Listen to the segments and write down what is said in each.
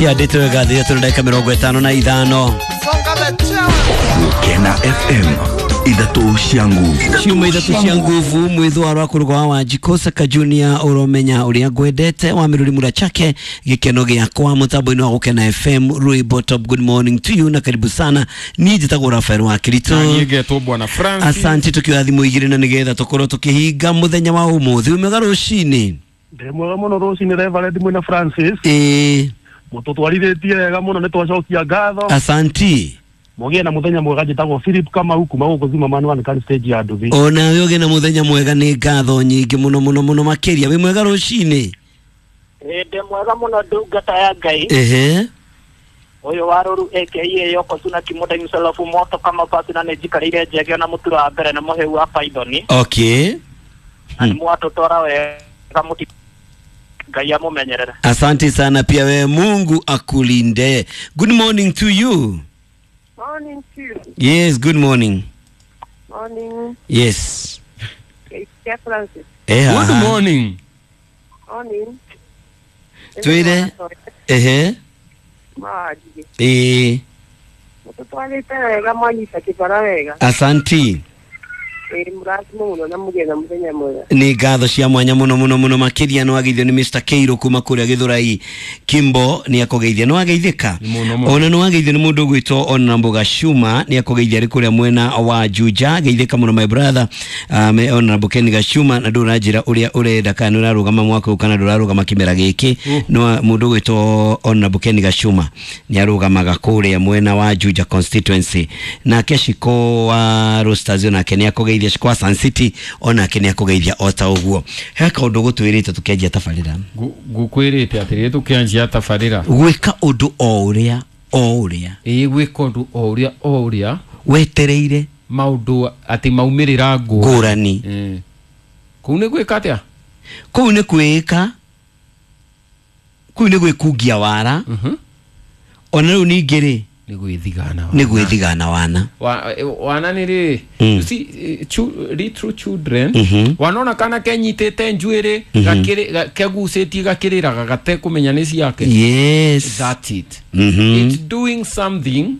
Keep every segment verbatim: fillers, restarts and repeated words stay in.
Ciandĩtwo wega thithatũ na ndagĩka mĩrongo ĩtano na ithano. Gukena F M ithatũ cia nguvu. Ciuma ithatũ cia nguvu mwithwa rwa kũrũga wa Wanjikũ Saka Junior ũromenya ũrĩa ngwendete wa mĩrũri mura chake gĩkeno gĩakwa mũtambo-inĩ wa Gũkena F M Rwĩmbo Top. Good morning to you na karibu sana. Niĩ njĩtagwo Rafael wa Kirito. Na niĩ ngetwo Bwana Francis. Asante tukioya thimũ igĩrĩ na nĩgetha tũkorwo tũkĩhinga mũthenya wa ũmũthĩ. Wĩ mwega rũcinĩ? Ndĩ mwega mũno rũcinĩ Reverend mwĩna Francis. Ĩĩ. Mũtũtwarithĩtie wega mũno nĩ twacokia ngatho. Asanti. Mũgĩe na mũthenya mwega. Njĩtagwo Philip Kamau kuma gũkũ Zima Manuel Kan stage ya Nduthi. Ona we ũgĩe na mũthenya mwega, nĩ ngatho nyingĩ mũno mũno mũno makĩria. Wĩ mwega rũcinĩ? Ĩĩ ndĩ mwega mũno ndungata ya Ngai. Ehe. Ũyũ wa Rũru A K A Yoko Suna Kimoda Msalafu moto kama pasi na nĩnjikarĩire njege na mũtura wa mbere na mũhĩu wa Python. Okay. Na nĩ mwatũtwara wega mũti Ngai amũmenyerere. Asante sana pia wewe, Mungu akulinde. Good morning to you. Morning to you. Yes, good morning. Morning. Yes. It's Francis. Eh, good morning. Morning. Twire. Ehe. Maji. Eh. Mututwalite wega mwanyita kibara wega. Asanti. Ĩ mũrathimo mũno na mũgĩe na mũthenya mwega. Nĩ ngatho cia mwanya mũno mũno mũno makĩria. Nĩ wageithio nĩ Mister Keiro kuma kũrĩa Gĩthũrai Kimbo, nĩ akũgeithia. Nĩ wageithĩka? Ona nĩ wageithio nĩ mũndũ ũgwĩtwo Ona Mboga Shuma, nĩ akũgeithia arĩ kũrĩa mwena wa Juja. Geithĩka mũno my brother, um, Ona Mbokeni Gashuma, na ndũranjĩra ũrĩa ũrenda kana nĩ ũrarũgama mwaka ũyũ kana ndũrarũgama kĩmera gĩkĩ. No mũndũ ũgwĩtwo Ona Mbokeni Gashuma nĩ arũgamaga kũrĩa mwena wa Juja constituency. Nake Shiko wa Roasters nake nĩ akũgeithia. Shiko wa Sun City onake nĩ akũgeithia o ta ũguo. He kaũndũ gũtwĩrĩte tũkĩanjia tabarĩra. Ngũkwĩrĩte atĩrĩrĩ tũkĩanjia tabarĩra, gwĩka ũndũ o ũrĩa o ũrĩa. Ĩĩ, gwĩka ũndũ o ũrĩa o ũrĩa wetereire maũndũ atĩ maumĩrĩra ngũrani. Kũu nĩ gwĩka atĩa? Kũu nĩ kwĩka, kũu nĩ gwĩkungia wara. Ona rĩu ningĩ rĩ nĩ gwĩthigana nĩ gwĩthigana wana. Wana nĩ rĩ, you see, little children wanona kana kenyitĩte njuĩrĩ kegucĩtie gakĩrĩraga gatekũmenya nĩ ciake. Yes, that's it. It's doing something.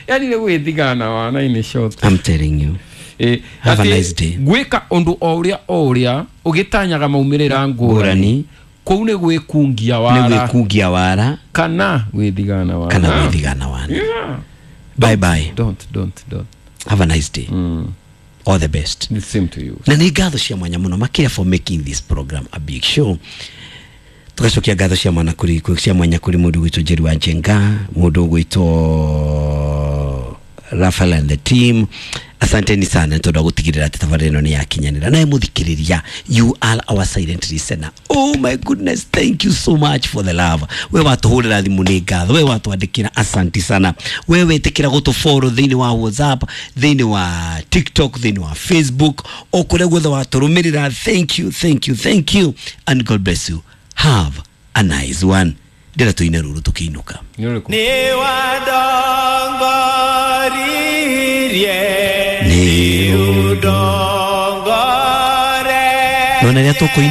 Yani nĩ gwĩthigana wana in short. I'm telling you. Eh, have a nice day. Gwĩka ũndũ o ũrĩa o ũrĩa ũgĩtanyaga maumĩrĩra ngũrani, kũu nĩ gwĩkungia wara. Nĩ gwĩkungia wara kana gwĩthigana wana. Kana gwĩthigana wana. Yeah. Bye bye. Don't don't don't. Have a nice day. Mm. All the best. The same to you. Na nĩ ngatho cia mwanya mũno makĩria for making this program a big show. Tugacokia ngatho cia mwana kũrĩ cia mwanya kũrĩ mũndũ gwĩtwo Njeri wa Njenga, mũndũ gwĩtwo Rafael and the team. Asanteni sana tondu gutigirira ati tabarĩra ĩno nĩ yakinyanĩra. Nawe mũthikĩrĩria, you are our silent listener. Oh my goodness, thank you so much for the love. We watũhũrĩra thimũ nĩ ngatho, we watwandĩkĩra asanti sana, we wetĩkĩra gũtũfollow thĩinĩ wa WhatsApp, thĩinĩ wa TikTok, thĩinĩ wa Facebook, o kũrĩa guothe watũrũmĩrĩra. Thank you, thank you, thank you, and God bless you. Have a nice one. Ndĩra tũine rũrũ tũkĩinũka. Nĩ wandongoririe nĩ ũndongore nona rĩrĩa tũkũina.